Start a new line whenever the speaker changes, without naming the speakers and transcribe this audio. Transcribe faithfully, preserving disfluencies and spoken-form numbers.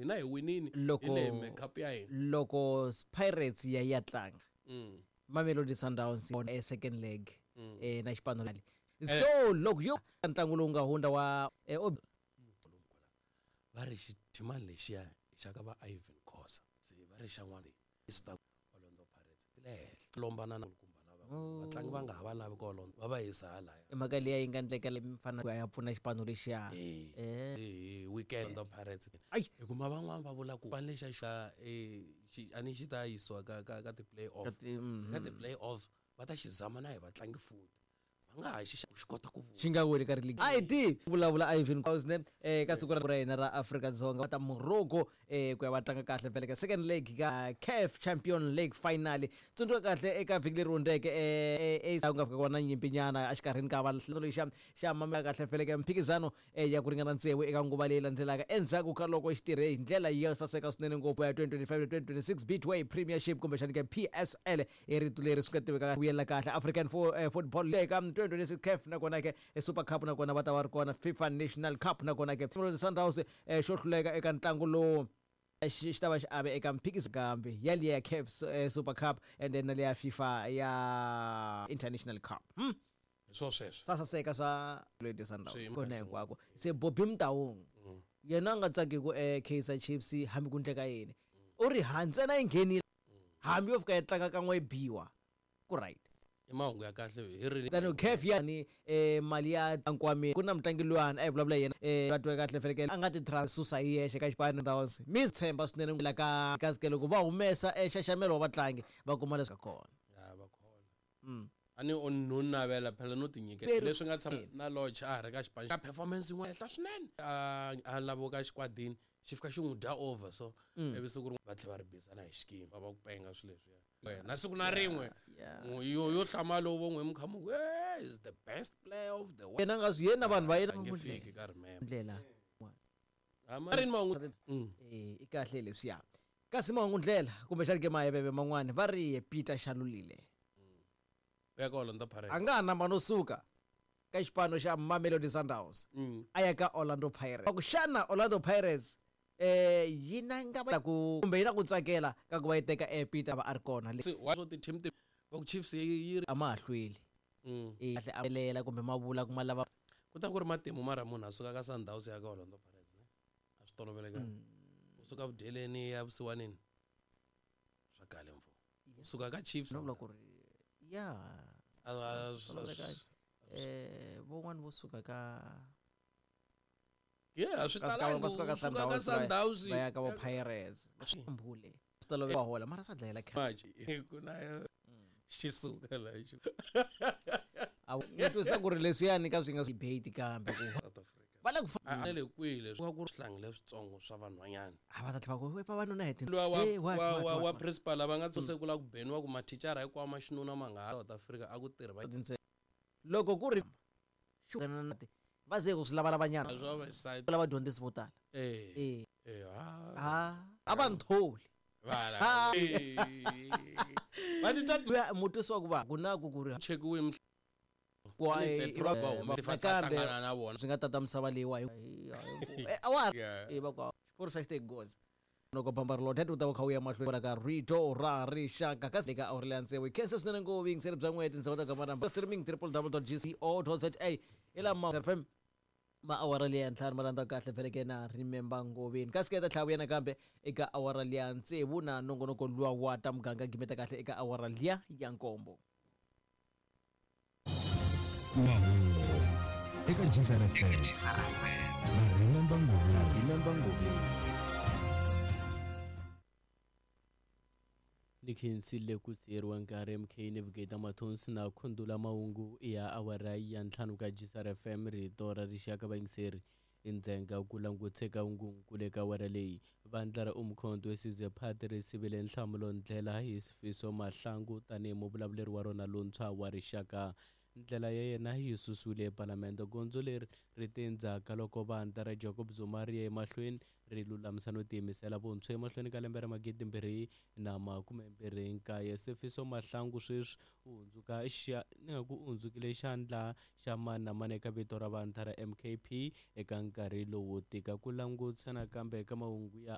hina hi winini
Loko-
hi le makeup ya hina
loko Pirates ya ya tlanga
Mm.
Mamelodi Sundowns on a second leg eh na xipano so loko yo ntlangu lowu nga hundza wa eh, ob-
va ri xithimani lexiya i xa ka va Ivan Khosa se va ri xa n'wana Star Orlando Pirates ti le henhla lombana na kumba lava vatlangi va nga ha va lavi ka Orlando va va yisa halaya
i mhaka liya yi nga ndleka le mfana ya pfuna xipano lexiya
eh
eh
eh weekend Orlando Pirates
Ai.
hikuva van'wana va vula ku xipano lexa xa eh xi a ni xi ta yisiwa ka ka ka ti play off
Ka ti- mhm.
ka ti play off va ta xi zama na hi vatlangi futhi va nga ha xi xi kota ku
xi nga weli ka ri a hi tivi vulavula Ivan Khosa eh ka siku ra hina ra Afrika-Dzonga ta Morocco eh ku ya va tlanga kahle vhele ka second leg ka CAF Champion League final tsundzuka kahle eka vhiki leri hundzeke eh eh ku nga fika ku va na nyimpinyana exikarhini ka va lexa xa mamela kahle vhele ka mphikizano eh, ya ku ringana tsevu eka nguva leyi landzelaka endzhaku ka loko xi tirhe hi ndlela yo saseka swinene ngopfu ya twenty twenty-five twenty twenty-six Betway Premiership kumbexani ka P S L i rito leri swi nga tiveka vuyela kahle African fo, eh, Football League ka twenty twenty-six CAF nakona ke eh, Super Cup nakona va ta va ri kona FIFA National Cup nakona ke Sundowns eh, xo hluleka eka ntlangu lowu xi xi ta va xi ave eka mphikizano kambe ya liya ya CAF eh, Super Cup and then na liya FIFA ya International Cup hmm?
swo sweswo
swa saseka swa Mamelodi Sundowns
Swi
kona hinkwako se Bobby Mtaung yena a nga tsaki ku eh, Kaizer Chiefs hambi ku ndleka yini u ri ha ntsena yi nghenile hambi yo fika yi tlanga kan'we yi biwa ku right
i mahungu ya kahle hi ri
tani CAF ya ni eh, mali ya nkwameni ku na mutlangi luyani a hi vulavula yena eh, va twe kahle felekele a nga ti susa hi yexe ka xipano Sundowns mi tshemba swinene la ka kasi loko va humesa eh, nxaxamelo wa vatlangi va kuma leswi ka kona
ya va kona
Mm.
a ni o no navela phela no tinyikela
Pero-
leswi nga tshama na Lodge a ha ri ka xipano xa performance yin'wana henhla swinene a a laviwa ka xikwadini xi fika xi n'wi dya over so ivi siku rin'we va tlhela va ri bizana hi xikimi va va ku penga swilo leswiya na siku na rin'we
Yeah.
n'wi- yo yo hlamala vo n'wi mi kha mi ku eh is the best player of the world
yena nga swi yena vanhu va yena
a nge fiki ka remember
ndlela
a ri ni mahungu Mm.
eh i kahle leswiya kasi mahungu ndlela kumbexani ke maheveve man'wani va ri Peter Shalulile
u ya ka Orlando Pirates
a nga ha namba no suka ka xipano xa Mamelodi Sundowns
Mm.
a ya ka Orlando Pirates ku xana Orlando Pirates eh yi na nga va ku kumbe yi na ku tsakela ka ku va yi teka eh Peter va a ri kona le
Se wa swo ti-team ti va ku Chiefs yi yi ri
a ma ha hlweli
Mm.
eh kahle a lela kumbe ma vula ku ma lava
ku ta ku ri matimu mara munhu a suka ka Sundowns ya ka Orlando Pirates ne a swi tolovelekanga u suka vudyeleni ya vusiwanini swa kale mfo u suka ka Chiefs
no vula ku ri ya
A- a-
swi tolovelekanga. eh van'wani vo suka ka
yeah a swi
ka
talangi
va suka ka
u suka ka
Sundowns va ya-
Sundowns
va ya ka vo Pirates mbule swi tolovela va hola mara swa dlayela khale
Maji, ku na xi suka la xi
a ni twisa ku ri leswiyani ka swi nga debate kambe ku
South Africa
va le ku fa
a a le kwihi leswi ku ri swihlangi leswitsongo swa vanhwanyana
a va ta tlhela va ku we vavanuna hi
luwa wa
Eh, what,
wa
what,
wa
what,
wa
what?
principal va nga tsuse ku la ku beniwa ku mathicara hinkwawo ma xinuna ma nga ha South Africa a ku tirhi va
Tintsena. Loko ku ri va ze ku swi lavalavanyana
swa va side
lava dyondzisi vo tala
eh
eh
eh ha
a a va ntholi
vala va titwa
luya mutwisi wa ku va ku na ku ku ri
chekiwe mhla
ku a-
Ni
i va-
va huma
eh,
va
nakambe
hlangana na vona
swi nga tata misava leyiwa hi Eh, a wa ha
Yeah.
eh, va ku xiphorisa xi te goza loko bamba ri lothet u ta va kha u ya mahlweni ka rito ra rixaka kasi eka awuri leya tsevu hi khensa swinene ngopfu vuyingiseri bya n'we tindzhawu ta gamaramba streaming triple w dot g c o dot z a hi lama fm ma awara liya ntlhanu ma landza kahle feleke na remember ngoveni kasi ke ta tlhela vuya nakambe eka awara liya tsevu na nongonoko luwa wa ta muganga gimeta kahle eka awara liya ya nkombo
mahungu eka Geyser F M na Remember Ngobeni Remember Ngobeni
Ni khensile ku siyeriwa nkarhi M K Navigator Mathonsi na Khundula Mahungu ya awara ya ntlhanu ka Geyser F M rito ra rixaka vayingiseri endzhenga ku languteka hungunkulu eka awara leyi vandla ra Umkhonto we Sizwe Party ri sivile nhlamulo ndlela hi Sifiso Mahlangu tanihi muvulavuleri wa rona lontshwa wa rixaka ndlela ya yena yi susiwile epalamende gondzo leri ri te endzhaku ka loko vandla ra Jacob Zuma ri ya emahlweni ri lulamisa no tiyimisela vuntshwa emahlweni ka lembe ra magidi mbirhi na makume mbirhi nkaye Sifiso Mahlangu sweswi u hundzuka xa ni nga ku u hundzukile xandla xa mani na mani eka vito ra vandla ra M K P eka nkarhi lowu tika ku langutisa nakambe eka mahungu ya